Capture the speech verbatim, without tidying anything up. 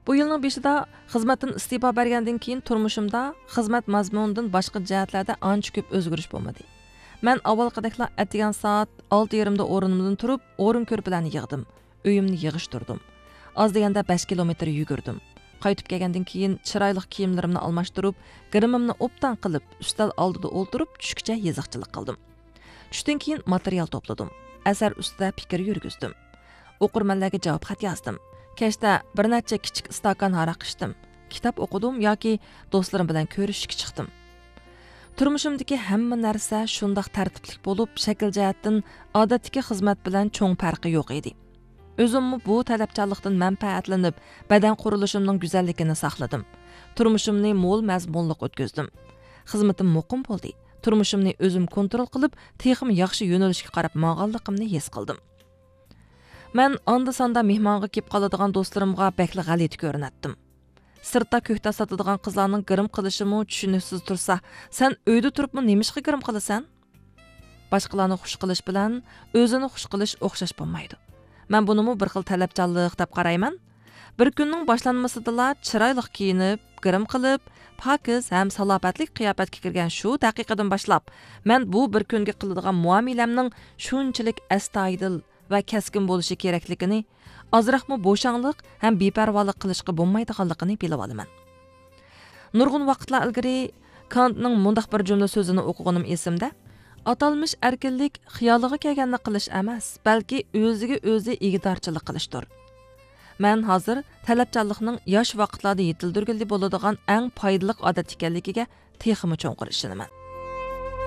بۇ يىلنىڭ بېشىدا خىزمەتتىن ئىستېپا بەرگەندىن كېيىن تۇرمۇشۇمدا خىزمەت مەزمۇنىدىن باشقا جەھەتلەردە ئانچە كۆپ ئۆزگىرىش بولمىدى. مەن ئاۋۋالقىدەكلا ئەتىگەن سائەت ئالتە يېرىمدا ئورنۇمدىن تۇرۇپ، ئورۇن كۆرپىلەرنى يىغدىم. ئۆيۈمنى يىغىشتۇردۇم. ئاز دېگەندە بەش كىلومېتىر يۈگۈردۈم. قايتىپ كەلگەندىن كېيىن چىرايلىق كىيىملىرىمنى ئالماشتۇرۇپ، گىرىمىمنى ئوبدان قىلىپ، ئۈستەل ئالدىدا ئولتۇرۇپ، چۈشكىچە يېزىقچىلىق قىلدىم. چۈشتىن كېيىن ماتېرىيال توپلىدىم. ئەسەر ئۈستىدە پىكىر يۈرگۈزدۈم. ئوقۇرمەنلەرگە جاۋاب خەت يازدىم. كەچتە بىر نەچچە كىچىك ئىستاكان ھاراق ئىچتىم. كىتاب ئوقۇدۇم ياكى دوستلىرىم بىلەن كۆرۈشۈشكە چىقتىم. تۇرمۇشۇمدىكى ھەممە نەرسە شۇنداق تەرتىپلىك بولۇپ، شەكىل جەھەتتىن ئادەتتىكى خىزمەت بىلەن چوڭ پەرقى يوق ئىدى. ئۆزۈممۇ بۇ تەلەپچانلىقتىن مەنپەئەتلىنىپ، بەدەن قۇرۇلۇشۇمنىڭ گۈزەللىكىنى ساقلىدىم. تۇرمۇشۇمنى مول مەزمۇنلۇق ئۆتكۈزدۈم. خىزمىتىم مۇقىم بولدى. تۇرمۇشۇمنى ئۆزۈم كونترول قىلىپ، تېخىمۇ ياخشى يۆنىلىشكە قاراپ ماڭغانلىقىمنى ھېس قىلدىم. مەن ئاندا-ساندا مېھمانغا كېلىپ قالىدىغان دوستلىرىمغا بەكلا غەلىتە كۆرۈنەتتىم. سىرتتا كۆكتات ساتىدىغان قىزلارنىڭ گىرىم قىلىشىمۇ چۈشىنىكسىز تۇرسا، سەن ئۆيدە تۇرۇپمۇ نېمىشقا گىرىم قىلىسەن؟ باشقىلارنى خۇش قىلىش بىلەن ئۆزىنى خۇش قىلىش ئوخشاش بولمايدۇ. مەن بۇنىمۇ بىر خىل تەلەپچانلىق دەپ قارايمەن. بىر كۈننىڭ باشلانمىسىدىلا چىرايلىق كىيىنىپ، گىرىم قىلىپ، پاكىز ھەم سالاپەتلىك قىياپەتكە كىرگەن شۇ دەقىقىدىن باشلاپ، مەن بۇ بىر كۈنگە قىلىدىغان مۇئامىلەمنىڭ شۇنچىلىك ئەستايىدىل ۋە كەسكىن بولۇشى كېرەكلىكىنى، ئازراقمۇ بوشاڭلىق ھەم بىپەرۋالىق قىلىشقا بولمايدىغانلىقىنى بىلىۋالىمەن. نۇرغۇن ۋاقىتلار ئىلگىرى كانتنىڭ مۇنداق بىر جۈملە سۆزىنى ئوقۇغىنىم ئېسىمدە، «ئاتالمىش ئەركىنلىك خىيالىغا كەلگەننى قىلىش ئەمەس، بەلكى ئۆزىگە ئۆزى ئىگىدارچىلىق قىلىشتۇر.» مەن ھازىر تەلەپچانلىقنىڭ ياش ۋاقىتلاردا يېتىلدۈرگىلى بولىدىغان ئەڭ پايدىلىق ئادەت ئىكەنلىكىگە تېخىمۇ چوڭقۇر ئىشىنىمەن.